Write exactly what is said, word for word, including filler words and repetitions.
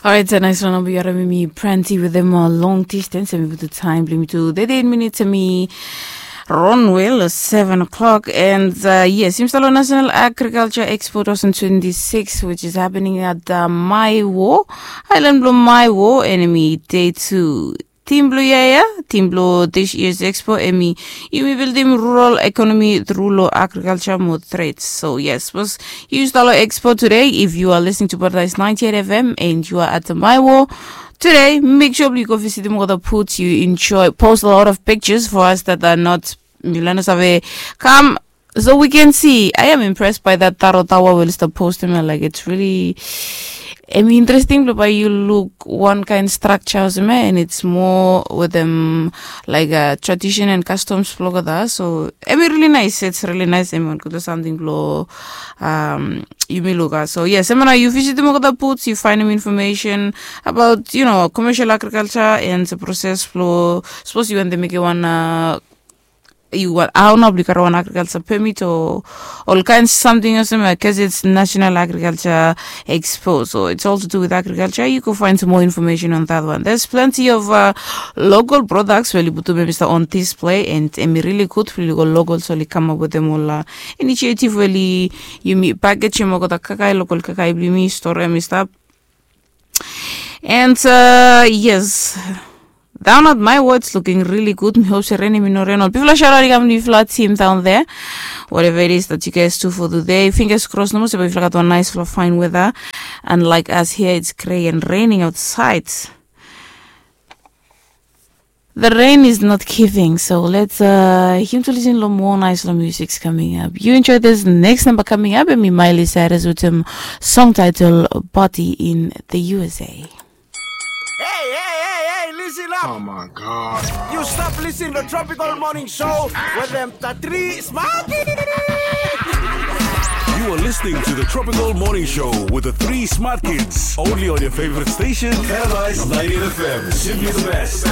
Orait, nais long namba yu harim mi Pranti wetem long distance, em i putum taim bilong mi tu thirty-eight minutes, em i ron wel seven o'clock. And uh, yes, yumi stap long National Agriculture Expo two thousand twenty-six, which is happening at uh, Maiwo, island bilong Maiwo, and em i day two. Tim bilong yia ya, tim bilong this year's expo, em i yumi buildim rural economy through lo agriculture mo trade. So yes, was yu stap long expo today. If you are listening to Paradise ninety-eight F M and you are at the Maiwo today, make sure you go visitim olgeta booths, you enjoy, post a lot of pictures for us that are not Milano Save. Come, so we can see. I am impressed by that Taro Tower we oli stap postim ya. Like, it's really, em i interesting bilong bai yu luk wan kain structure olsem ya, and it's more wetem like uh, tradition and customs bilong olgeta. So em i really nice, it's really nice. Em i wan gutpela samting bilong um, yumi luk ya. So yes, em ya nao yu visitim olgeta booths, yu finding information about, you know, commercial agriculture and the process bilong, sapos yu wantem mekim wan uh, yu wan, hau nao bilong yu gat wan agriculture permit o ol kain samting olsem ya, because it's National Agriculture Expo, so it's all to do with agriculture. You go find some more information on that one. There's plenty of uh, local products we oli putum em i stap on display, and em i really good bilong ol locals oli come up wetem ol uh, initiative we oli yumi package em olgeta kakai, local kakai bilong yumi store em i stap. And uh, yes, down at Maiwo it's looking really good. Mi hope se ren em i no ren ol. Bifala shout out i kam long bifala team down there. Whatever it is that you guys do for today, fingers crossed nomo se bifala gat wan nice fine weather. Unlike us here, it's gray and raining outside. The rain is not giving, so let's uh, him to listen to more nice music coming up. You enjoy this next number coming up, and me, Miley Cyrus, with some song title Body in the U S A. Hey, hey, hey, hey, listen up! Oh my God. You stop listening to Tropical Morning Show with them the three smart kids. You are listening to the Tropical Morning Show with the three smart kids, only on your favorite station, Paradise ninety-eight F M. Simply the best.